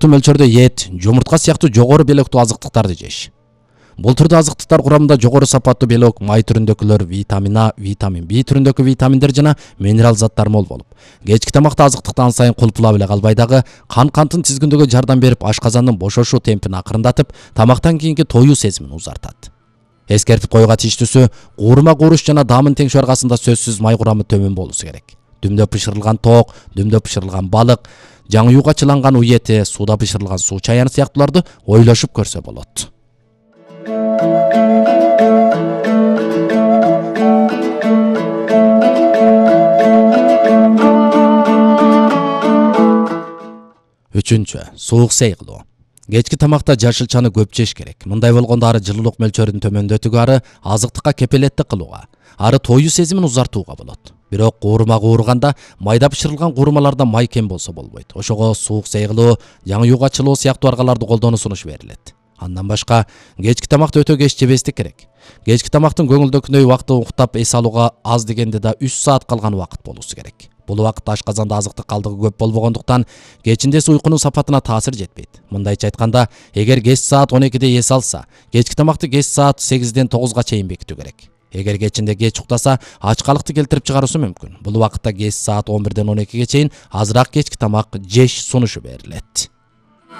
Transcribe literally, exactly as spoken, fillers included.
ортолуктуу мөлчөрдө эт, жумуртка сыяктуу жогору белоктуу азыктыктарды жеш. Бул түрдүү азыктыктар курамында жогору сапаттуу белок, май түрүндөгүлөр, витамин А, витамин Б түрүндөгү витаминдер жана минерал заттар мол болуп, кечки тамакта азыктыктан сайын кулпулап эле калбай дагы кан канттын тизгиндөгү жардам берип, ашказандын бошошуу темпин акырындатып, тамактан кийинки тоюу сезимин узартат. Эскертип коюуга тийиштүүсү, куурма кууруш жана даамын теңшөө аркасында сөзсүз май курамы төмөн болуусу керек. Дүмдө пышырылган тоок, дүмдө пышырылган балык, жаңыюуга чыланган уй эти, сууда пышырылган суу чаяны сыяктууларды ойлошуп көрсө болот. Үчүнчү, суук сей кылуу. Кечки тамакта жашылчаны көп жеш керек. Мындай болгондо ары жылуулук мөлчөрүн төмөндөтүүгө, ары азыктыкка кепелеттик кылууга, ары тоюу сезимин узартууга болот. Бирок куурма куурганда майда пышырылган куурмаларда май кем болсо болбойт. Ошого суук сей кылуу, жаңыюуга чылоо сыяктуу аргаларды колдонуу сунуш берилет. Андан башка, кечки тамакты өтө кеч жебестик керек. Кечки тамактын көңүлдөгүндөй убакты уктап эс алууга аз дегенде да үч саат калган убакыт болуусу керек. Бул убакытта ашказанда азыктык калдыгы көп болбогондуктан кечиндеси уйкунун сапатына таасир жетпейт. Мындайча айтканда, эгер кеч саат он экиде эс алса, кечки тамакты кеч саат сегизден тогузга чейин бекитүү керек. Эгер кечинде кеч уктаса, ачкалыкты келтирип чыгаруусу мүмкүн. Бул убакытта кеч саат он бирден он экиге чейин азыраак кечки тамак жеш сунушу берилет.